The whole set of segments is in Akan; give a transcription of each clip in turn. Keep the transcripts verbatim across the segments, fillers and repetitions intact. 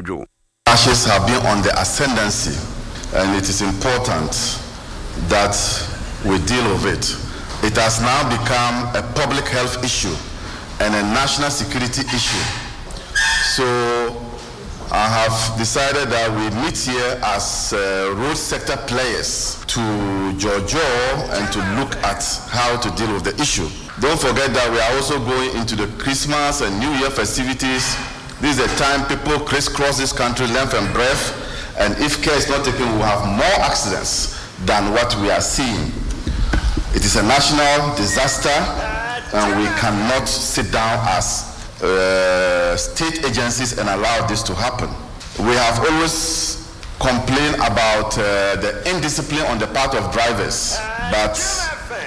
Dwo. Crashes have been on the ascendancy, and it is important that we deal with it. It has now become a public health issue and a national security issue. So I have decided that we meet here as uh, road sector players to jaw and to look at how to deal with the issue. Don't forget that we are also going into the Christmas and New Year festivities. This is the time people crisscross this country length and breadth, and if care is not taken, we will have more accidents than what we are seeing. It is a national disaster, and we cannot sit down as uh, state agencies and allow this to happen. We have always complained about uh, the indiscipline on the part of drivers, but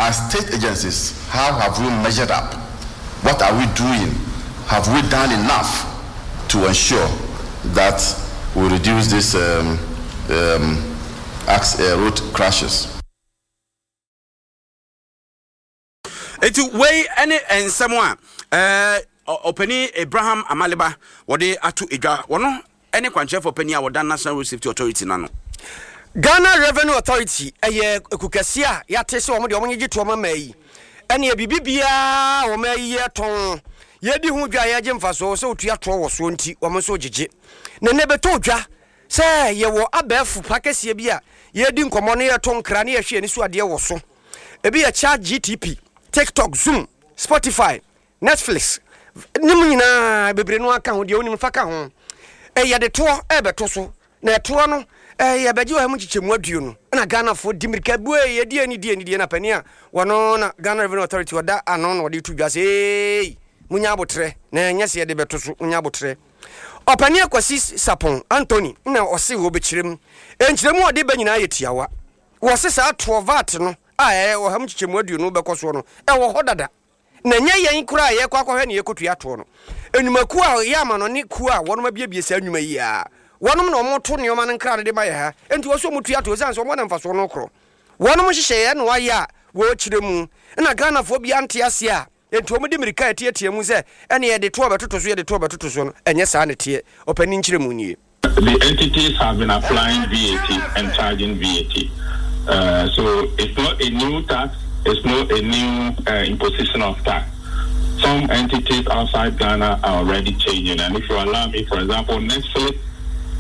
as state agencies, how have we measured up? What are we doing? Have we done enough to ensure that we reduce these um, um, uh, road crashes? Eti wei ne nsɛm a ɛɛ ɔpanin Abraham Amaliba wɔde ato edwa. Wɔno ne kwankyerɛfoɔ panin a wɔda National Road Safety Authority no ano. Ghana Revenue Authority yɛ ekuo kɛseɛ a yɛate sɛ wɔn deɛ wɔn gyegye toɔ ma mmaa yi. Ɛneɛ biribi biara a wɔn ayi yɛtɔn, yɛdi ho dwa a yɛgye mfasoɔ sɛ wotua toɔ wɔ soɔ nti wɔn nso gyegye. Na nnɛ bɛtɔ dwa sɛ yɛwɔ abɛɛfo pa kɛseɛ bi a yɛdi nkɔmmɔ na yɛto nkra na yɛhwɛ yɛn ani so adeɛ wɔ so. Ebi yɛ Chat G T P, TikTok, Zoom, Spotify, Netflix ne mu nyinaa bebree no aka ho, deɛ wonim fa ka ho. Yɛde toɔ ɛrebɛto so, na ɛtoɔ no yɛbɛgye ɔha mu nkyekyɛmu aduonu na Ghanafoɔ di mmirika bue yɛdi ani di ani die na panin a wɔno na Ghana Revenue Authority ɔda ano na ɔde to dwa sɛ eei munya abotrɛ na ɛnyɛ sɛ yɛde bɛto so, munya abotrɛ. Ɔpanin Akwasi Sarpong Anthony na ɔse wɔbɛkyerɛ mu. Nkyerɛmu a ɔde ba nyinaa yɛ tiawa. Wɔse saa toɔ VAT no a ɛyɛ ɔha mu nkyekyɛmu aduonu bɛkɔ soɔ no, ɛwɔ hɔ dada. Na ɛnyɛ yɛn koraa a yɛrekɔ akɔhwɛ na yɛrekɔtua toɔ no. Nnwumakuo a ɛyɛ amanɔne kuo a wɔnom abiebie saa nnwuma yi ara, wɔnom na wɔto nneɛma no nkra no de ma yɛ ha. Enti wɔse wɔtua toɔ ɛsiane sɛ wɔn na mfasoɔ no rekorɔ. Wɔnom nhyehyɛeɛ na wɔayɛ a wɔrekyerɛ mu. Ɛna Ghanafoɔ biara nte aseɛ a enti wɔde mmirika reteatea mu sɛ ɛneɛ yɛde toɔ bɛtoto so, yɛde toɔ bɛtoto so no, ɛnyɛ saa na ɛteɛ. Ɔpanin nkyerɛmu nie. The entities have been applying V A T and charging V A T. Uh, so it's not a new tax, it's not a new, uh, imposition of tax. Some entities outside Ghana are already changing. And if you allow me, for example, Netflix,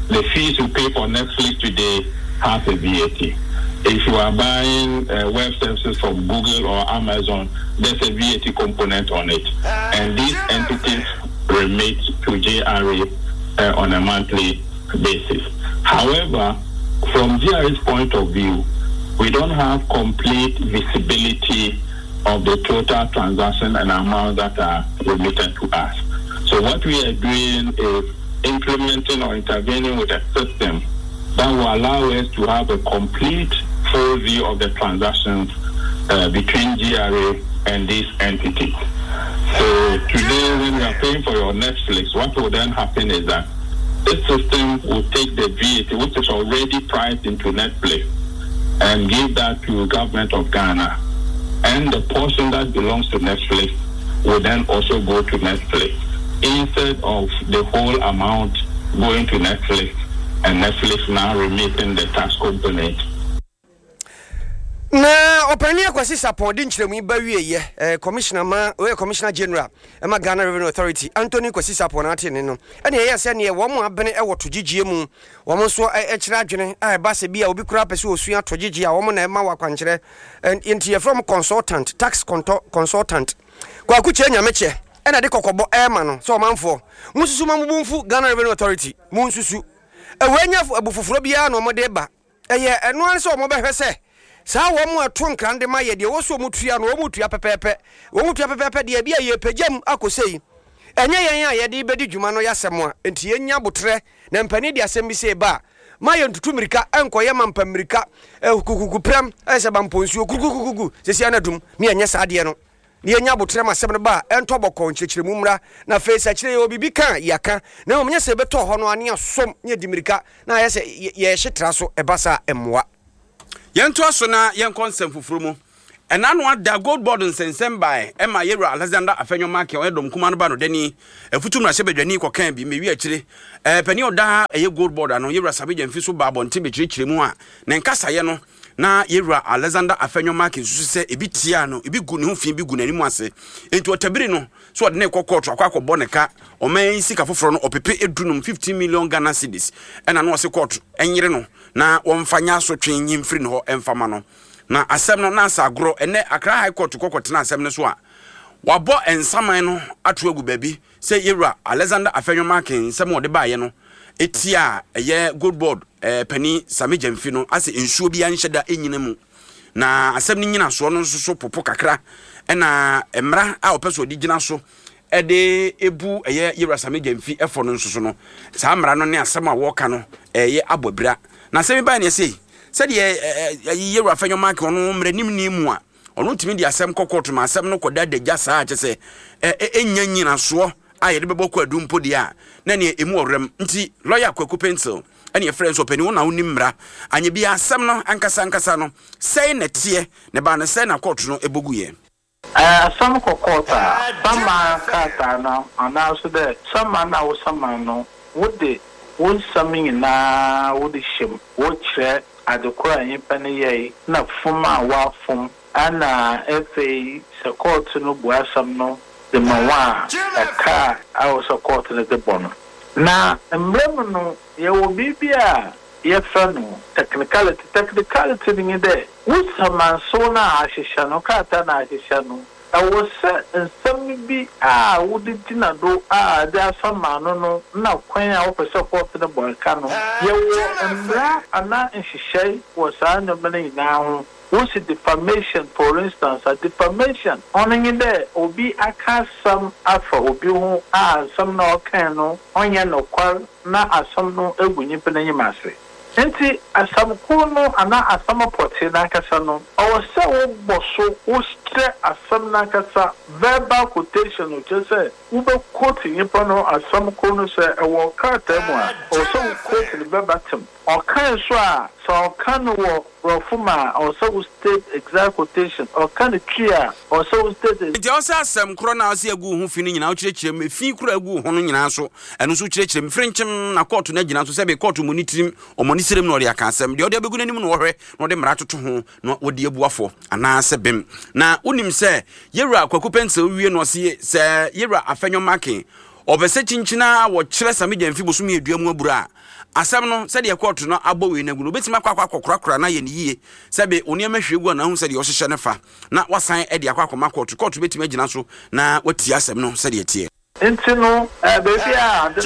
the fees you pay for Netflix today has a V A T. If you are buying, uh, web services from Google or Amazon, there's a V A T component on it. And these entities remit to G R A, uh, on a monthly basis. However, from G R A's point of view, we don't have complete visibility of the total transaction and amount that are remitted to us. So what we are doing is implementing or intervening with a system that will allow us to have a complete full view of the transactions, uh, between G R A and these entities. So today, when you are paying for your Netflix, what will then happen is that this system will take the V A T, which is already priced into Netflix, and give that to the government of Ghana. And the portion that belongs to Netflix will then also go to Netflix, instead of the whole amount going to Netflix and Netflix now remitting the tax component. Na ɔpanin Akwasi Sarpong de nkyerɛmu yi ba wieɛ, eh, Commissioner ma, ɔyɛ Commissioner General ma Ghana Revenue Authority, Anthony Kwasi Sarpong na ate ne no. Ɛna ɛyɛ sɛ neɛ wɔn abene wɔ togyegyeɛ mu, wɔn nso kyerɛ adwene a ɛba sɛ bi a obi koraa pɛ sɛ ɔsua togyegyeɛ a wɔn na ɛma wɔ akwankyerɛ. Nti yɛfrɛ wɔn consultant, tax consultant. Kwaku Kyei Nyamekyɛ ɛna de kɔkɔbɔ ɛrema no sɛ ɔmanfoɔ, monsusu ma mo bo mfu Ghana Revenue Authority, monsusu. Ɛwɔ anya abu foforɔ biara na wɔde ba. Ɛyɛ ɛno ara sɛ wɔbɛhwɛ sɛ saa wɔn a ɛto nkran de ma yɛ deɛ wɔn so wɔn tua no, wɔn tua pɛpɛɛpɛ. Wɔn tua pɛpɛɛpɛ deɛ ebi a yɛpagya mu akɔ sei. Ɛnyɛ yɛn a yɛde bɛdi dwuma no yɛ asɛm a, nti yɛnya abotrɛ na mpanin de asɛm bi sɛ ba a, ma yɛntutu mmirika, ɛnkɔyɛ ma mpa mmirika, kukuku prɛm, ɛyɛ sɛ ba mpɔnsuo, kukukukuku, sɛsi anadum, ne yɛnyɛ saa adeɛ no. Ne yɛnya abotrɛ ma asɛm no ba a, ɛntɔ bɔkɔɔ, nkyerɛkyerɛmu mmra, na afei sɛ akyire yɛwɔ biribi ka a, yɛaka. Na mmom nyɛ sɛ yɛbɛtɔ hɔ no a, ne yɛasom, ne yɛdi mmirika, na ayɛ sɛ yɛhye tra so, ɛba saa a, ɛmmoa. Yɛntoa so na yɛnkɔ nsɛm foforɔ mu. Ɛna no ada Gold Board nsɛnsɛm bae ɛma Yɛwura Alexander Afenyo Markin, ɔyɛ dɔm kuma no ba no dani afutu mmarahyɛ badwani, kɔkaa bi mewi akyire. ɛɛ panin ɔda ɛyɛ Gold Board ano, Yɛwura Sammy Gyamfi, so ba abɔnten bɛkyerɛkyerɛ mu a ne nkasaeɛ no na Yɛwura Alexander Afenyo Markin susu sɛ ebi tia no, ebi gu ne ho fi, bi gu n'anim ase, nti ɔtabiri no so ɔde ne kɔ kɔɔto akɔ akɔbɔ ne ka ɔman yi sika foforɔ no ɔpepe edunum, fifteen million Ghana cedis. Ɛna no ɔse kɔɔto ɛnyere no na wɔmfa nya asotwe nyi mfiri ne hɔ ɛmfa ma no. Na asɛm no na asa agorɔ. Ɛnɛ Accra High Court kɔkɔtena asɛm no so a wabɔ nsaman no ato agu baabi sɛ Yɛwura Alexander Afenyo Markin nsɛm a ɔde baeɛ no etia a ɛyɛ Gold Board ɛɛ panin Sammy Gyamfi no asɛ nsuo bi anhyɛ da ɛnyina mu, na asɛm no nyinasoɔ no nso so popo kakra, ɛna mmara a ɔpɛ so ɔde gyina so ɛde ebu ɛyɛ Yɛwura Sammy Gyamfi ɛfɔ no nso so no, saa mmara no ne asɛm a wɔreka no ɛyɛ abɔ abira. Na asɛm yi baa ne ɛsɛ sɛdeɛ ɛɛ Yɛwura Afenyo Markin, ɔno mmaranim ni mu a ɔno tumi de asɛm kɔ kɔɔto ma asɛm no kɔda adagya saa, kyɛ sɛ ɛ ɛnya nyinasoɔ a yɛde bɛbɔ kɔ adu mpo deɛ a na neɛ ɛmu ɔwerɛm. Nti lɔya Kwaku Pencil ɛne yɛfrɛ nso, ɔpani wo na wonim mmara anyɛ bi, asɛm no ankasa ankasa no sɛe na teɛ ne baa no sɛe na kɔɔto no ɛbɔgu yɛ. Asɛm kɔ court a, saman krataa no anaaso dɛ saman a wosaman no, wode wo nsɛm nyinaa wode hyɛ mu, wokyerɛ ade koro a nyimpa no yɛe na fom a woafom, ana afei sɛ kɔɔto no bu asɛm no de ma wo a, ɛka a ɛwɔ sɛ kɔɔto no de bɔ no. Na mmerɛ mu no, yɛwɔ biribi a yɛfrɛ no technicality. Technicality no nye dɛ wo samansew no a ahyehyɛ no, krataa no a ahyehyɛ no, ɛwɔ sɛ nsɛm bi a wode gyina do a de asama no no na kwan a wopɛ sɛ kɔɔto no bɔ ɛka no, yɛwɔ mmara anaa nhyehyɛe wɔ saa nneɛma no nyinaa ho. Wosi defamation, for instance, a defamation ɔno nye dɛ obi aka asɛm afa obi ho a asɛm na ɔkae no ɔnyɛ nokwar na asɛm no egu nyimpa n'enyim ase. Nti asɛm koro no anaa asɛm pɔtee n'ankasa no, ɔwɔ sɛ wobɔ so, wokyerɛ asɛm n'ankasa, verbal quotation no, kyerɛ sɛ wobɛquote nyimpa no asɛm koro no. Sɛ ɛwɔ krataa mu a, ɔwɔ sɛ wo quote no verbatim. Ɔkan so a, sɛ ɔka no wɔ borɔfo ma a, ɔwɔ sɛ wo state exact quotation. Ɔka no Twi a, ɔwɔ sɛ wo state. Nti ɛwɔ sɛ asɛm korɔ no a ɔsɛ agu wo ho fi no nyinaa wokyerɛkyerɛ mu, efi korɔ agu wo ho no nyinaa so, ɛno nso wokyerɛkyerɛ mu firi nkyem na kɔɔto no agyina so. Sɛ kɔɔto mu ne tirim ɔmɔ ne serem na ɔde aka asɛm deɛ ɔde abɛgu n'anim na wɔhwɛ na ɔde mmara toto ho na wɔde abu afɔ anaasɛ bem. Na wonim sɛ Yɛwura Kwaku Pencil wie no, ɔse sɛ Yɛwura Afenyo Markin ɔpɛ sɛ kyinkyina a wɔkyerɛ Sammy Gyamfi bosome adua mu abura a, asɛm no sɛdeɛ kɔɔto no abɔ wei no agu no, wobɛtumi akɔ akɔ akɔkorakora na ayɛ ne yie sɛbe wo nneɛma hwie gu a na ahu sɛdeɛ ɔhyehyɛ no fa na wasan de akɔ akɔma kɔɔto. Kɔɔto bɛtumi agyina so na watie asɛm no sɛdeɛ teɛ. Nti no, baabi a ade no